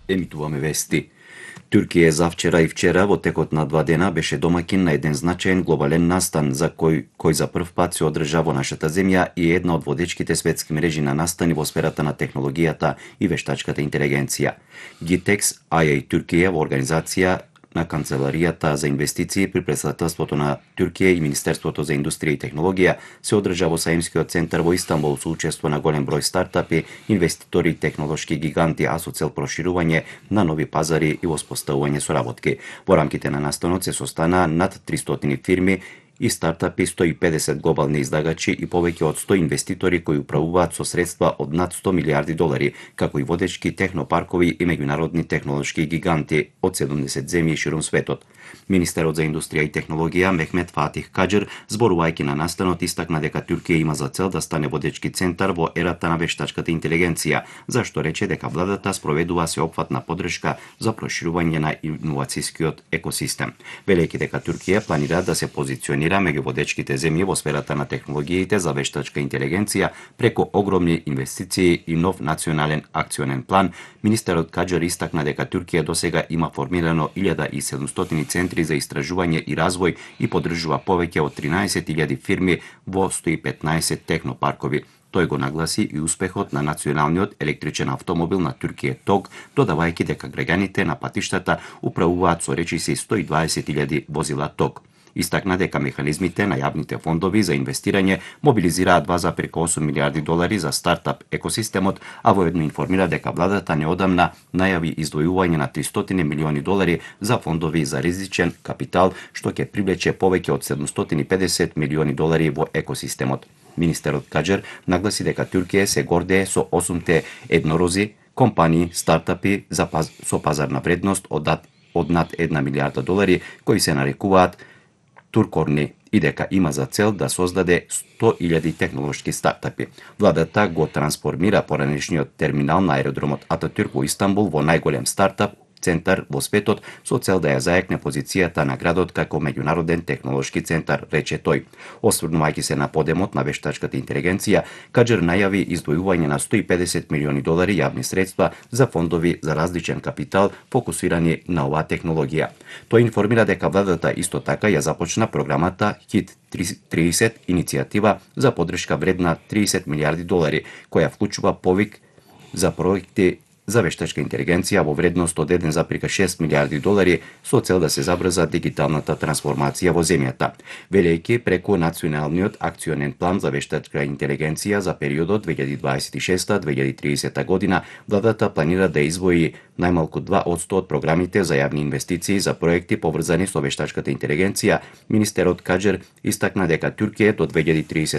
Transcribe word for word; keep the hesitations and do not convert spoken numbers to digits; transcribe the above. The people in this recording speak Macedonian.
Емитуваме вести. Туркија завчера и вчера во текот на два дена беше домаќин на еден значаен глобален настан за кој кој за прв пат се одржа во нашата земја и е една од водечките светски мрежи на настани во сферата на технологијата и вештачката интелигенција. GITEX ай ей Туркија во организација на Канцеларијата за инвестиции при претставителството на Туркија и Министерството за индустрија и технологија се одржа во Саимскиот центар во Истанбул со учество на голем број стартапи, инвеститори и технолошки гиганти, а со цел проширување на нови пазари и воспоставување соработки. Во рамките на настанот се состанаа над тристотини фирми и стартапи, сто и педесет глобални издагачи и повеќе од сто инвеститори кои управуваат со средства од над сто милиарди долари, како и водечки технопаркови и меѓународни технолошки гиганти од седумдесет земји ширум светот. Министерот за индустрија и технологија Мехмет Фатих Каџер, зборувајќи на настанот, истакна дека Туркија има за цел да стане водечки центар во ерата на вештачката интелигенција, зашто рече дека владата спроведува сеопфатна поддршка за проширување на иновацијскиот екосистем. Велејќи дека Туркија планира да се позиционира меѓу водечките земји во сферата на технологиите за вештачка интелигенција преку огромни инвестиции и нов национален акционен план, министерот Каџер истакна дека Туркија досега има формирано илјада и седумстотини центри за истражување и развој и поддржува повеќе од тринаесет илјади фирми во сто и петнаесет технопаркови. Тој го нагласи и успехот на националниот електричен автомобил на Туркија ТОГ, додавајќи дека граѓаните на патиштата управуваат со речиси сто и дваесет илјади возила ТОГ. Истакна дека механизмите на јавните фондови за инвестирање мобилизираат два зарез осум милиарди долари за стартап екосистемот, а воедно информира дека владата неодамна најави издвојување на тристотини милиони долари за фондови за ризичен капитал, што ќе привлече повеќе од седумстотини и педесет милиони долари во екосистемот. Министерот Каџер нагласи дека Туркија се гордее со осумте еднорози, компании, стартапи за паз... со пазарна вредност од, од над една милијарда долари, кои се нарекуваат Туркорни, и дека има за цел да создаде сто илјади технолошки стартапи. Владата го трансформира поранешниот терминал на аеродромот Ататюрк во Истанбул во најголем стартап центар во светот со цел да ја заекне позицијата на градот како меѓународен технолошки центар, рече тој. Осврнувајќи се на подемот на вештачката интелигенција, Каџер најави издвојување на сто и педесет милиони долари јавни средства за фондови за различен капитал фокусирани на оваа технологија. Тој информира дека владата исто така ја започна програмата ХИТ тридесет, иницијатива за поддршка вредна триесет милиарди долари, која вклучува повик за проекти за вештачка интелигенција во вредност од еден зарез шест милиарди долари со цел да се забрза дигиталната трансформација во земјата. Велејќи преку националниот акционен план за вештачка интелигенција за периодот две илјади дваесет и шеста до две илјади тридесета година, владата планира да издвои најмалку два одсто од програмите за јавни инвестиции за проекти поврзани со вештачката интелигенција. Министерот Каџер истакна дека Туркија до две илјади тридесета